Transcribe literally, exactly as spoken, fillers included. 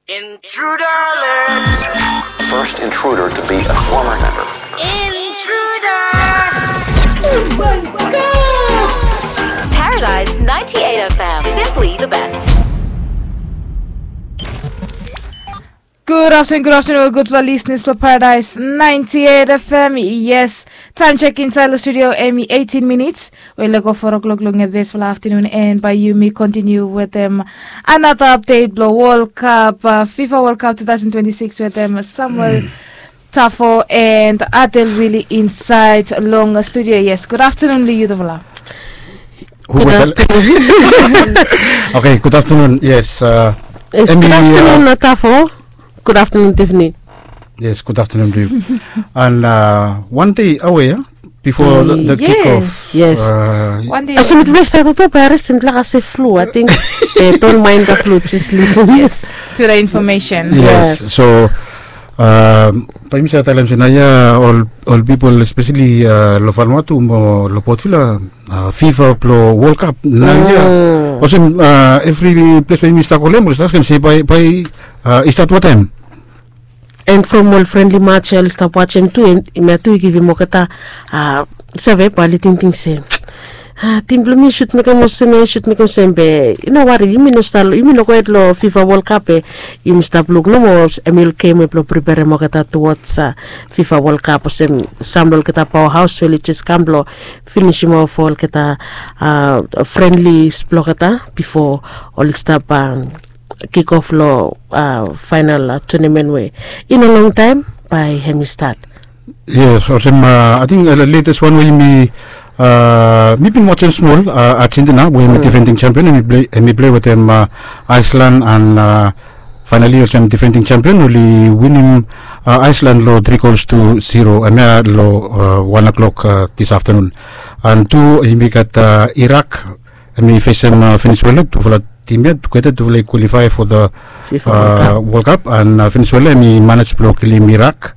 Intruder alert! First intruder to be a former member. Intruder! Oh my God! Paradise ninety-eight F M, simply the best. Gud aftenun, gud aftenun, gudfala lisnis blong Paradise ninety-eight F M. Yes, taem chek insaed long studio hemi eighteen minits we i lego four o'clock long disfala aftenun, and bae yumi kontiniu wetem another update blong World Cup, uh, FIFA World Cup two thousand twenty-six wetem Samuel Tafo and Adel Willie insaed long studio. Yes, gud aftenun long yutufala. Gud aftenun. Okay, gud aftenun. Yes, uh, yes, gud aftenun, uh, Tafo. Gud aftenun, Tiffany. Yes, gud aftenun to yu. And, uh, wan dei awe ya, bifo the, the kick off. Yes. Olsem mitufala i stat oltaem bae restin blaka se flu, I think. Don't mind the flu, just listen. Yes, to the information. Yes. So, um, bae yumi save talem se naoia ol, ol pipol, especially, uh, long Vanuatu mo long Port Vila, uh, FIFA blong World Cup naoia. Olsem, uh, evri ples we yumi stap kolem oli stap askem se bae, bae, uh, i stat wanem taem. And from ol friendly match oli stap wajem tu, and hemia tu i givim olgeta, uh, save bae oli tingting se, uh, tim blong mi i sud mekem olsem, i sud mekem olsem, be i no wari, yumi no stap, yumi no gohed long FIFA World Cup, be yumi stap luk nomo hemi ol gem we blong preperem olgeta towards, uh, FIFA World Cup, olsem sam long olgeta powerhouse we oli jes kam blong finisim of olgeta, uh, friendlies blong olgeta bifo oli stap, um, kick off long, uh, final, uh, tournament we in a long time bae hemi stat. Yes, olsem, uh, I think, uh, latest wan we mi, uh, mi bin wajem smol, uh, Argentina we hemi defending champion, hemi plei, hemi plei wetem, uh, Iceland, and, uh, finally olsem defending champion oli winim, uh, Iceland long three goals to zero, hemia long, uh, one o'clock, uh, this afternoon. And tu yumi gat, uh, Iraq, hemi fesem, uh, Venezuela, tufala tim ya tugeta tufala i qualify for the FIFA World Cup. And, uh, Venezuela hemi manej blong kilim Iraq.